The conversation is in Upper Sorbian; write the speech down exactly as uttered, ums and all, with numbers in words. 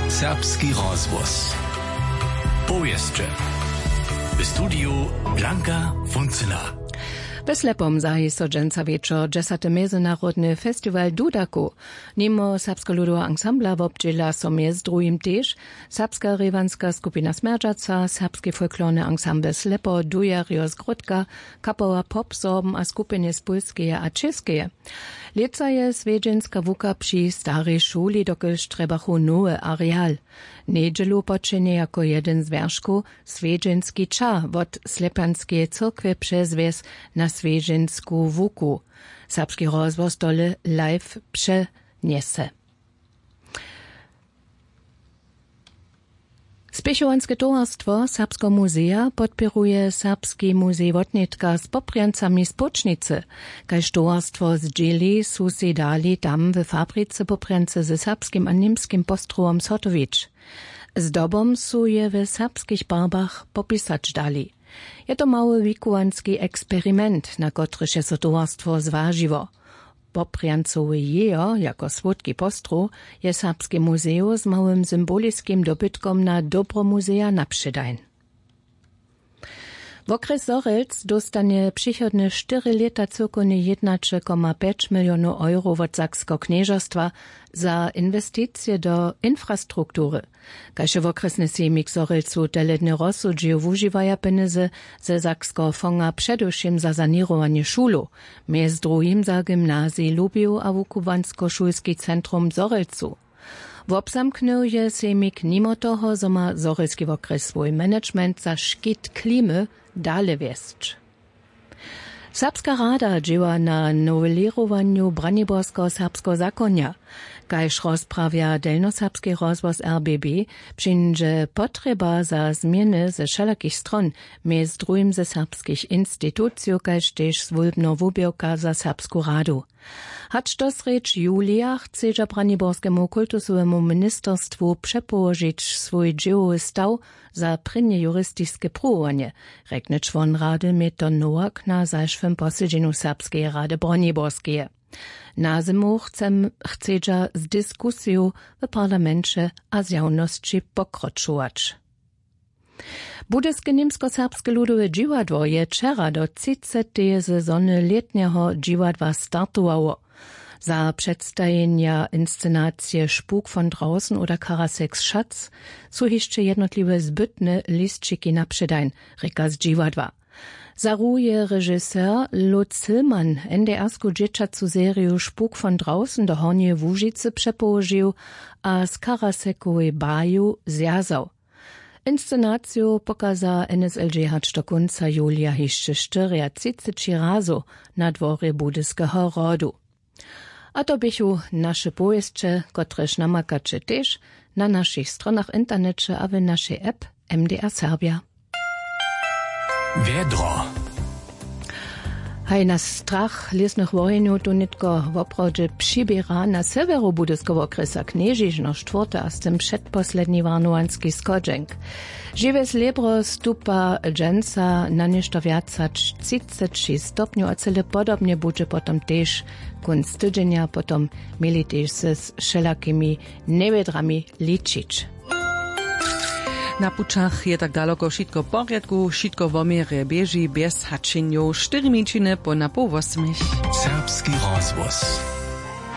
Serbski rozhłos. Powěsće. W studiju Blanka Funcyna. We Slepom zahi so dźensa wječor dźesaty mjezynarodny festiwal dudakow. Nimo serbskeho ludoweho ansambla wobdźěla so mjez druhim tež serbska rěwanska skupina Smjerdźaca, serbski folklorny ansambl Slepo, Dujerjo z Grótka, kapała Pop Sorben a skupiny z Pólskeje a Čěskeje. Lětsa je swjedźenska łuka při starej šuli, dokelž trjebachu nowy areal. Njedźelu počenje jako jedyn z wjerškow swjedźenski ča wot Slepanskeje cyrkwje přez wjes na swjedźensku łuku. Serbski rozhłos tole live přenjese. Spěchowanske towarstwo Serbskeho muzeja podpěruje Serbski muzej Wotnětka z poprjancami z Płóčnicy. Kaž towarstwo zdźěli, su sej dali tam w fabrice poprjance ze serbskim a němskim postrowom zhotowić. Zdobom su je w serbskich barbach popisać dali. Je to mały wikuwanski eksperiment, na kotryž je so towarstwo zwažiło. Poprjancowy jejo jako słódki postrow je Serbski muzeju z małym symboliskim dobytkom na dobro muzeja napředajn. Wokrjes Zhorjelc dóstanje přichodne štyri lěta cyłkownje jědnaće koma pjeć milionow euro wot Sakskeho knježerstwa za inwesticije do infrastruktury. Kaž je wokrjesny sejmik w Zhorjelcu telednje rozsudźił, wužiwaja pjenjezy ze sakskeho fonga předewšěm za saněrowanje šulow, mjez druhim za gymnazij Lubjow a wukubłanskošulski centrum w Zhorjelcu. Wobzamknył je sejmik nimo toho, zo ma Zhorjelski wokrjes swój management za škit klimy dale wjesć. Serbska rada dźěła na nowelěrowanju braniborskeho serbskeho zakonja. Kaž rozprawja delnjoserbski rozhłos R B B, přińdźe potrjeba za změny ze wšelakich stron, mjez druhim ze serbskich institucijow, kaž tež swólbneho wuběrka za Serbsku radu. Hač dosrjedź julija chcedźa braniborskemu kultusowemu ministerstwu přepołožić swój dźěłowy staw za prěnje juristiske pruwowanje, rjekny čłon rady Meter Nowak na zašłym posedźenju Serbskeje rady Broniborskeje. Na zymu chcem, chcedźa z diskusiju w parlamenće a zjawnosći pokročować. Budyske Němskoserbske ludowe dźiwadło je wčera do třiceteje sezony lětnjeho dźiwadła startowało. Za předstajenja inscenacije Spuk von draußen oder Karaseks Schatz su hišće jednotliwe zbytne lisćiki na předajn, rěka z dźiwadła. Za ru je režiser Lutz Hillmann N D R-sku dźěćacu seriju Spuk von draußen do Hornjeje Łužicy přepołožił a z Karasekowej baju zwjazał. Inscenaciju pokaza N S L J hač do kónca julija hišće štyriatřiceći razow na dworje Budyskeho hrodu. A to běchu naše powěsće, kotrež namakaće tež na našich stronach w interneće a w našej app M D R Serbja. Wjedro. Haj, na strach lěsnych wohenjow tu nětko woprawdźe přiběra na sewjeru Budyskeho wokrjesa Knježišno štwórte a z tym předposledni warnowanski schodźenk. Žiwje slěbro stupa dźensa na něšto wjac hač třiceći stopnjow a cyle podobnje budźe potom tež kónc tydźenja, potom měli tež z wšelakimi njewědrami ličić. Na pućach je tak daloko wšitko w porjadku, wšitko wo měrje běži bjez hačenjow, štyri minčiny po na poł wosmich. Serbski rozhłos.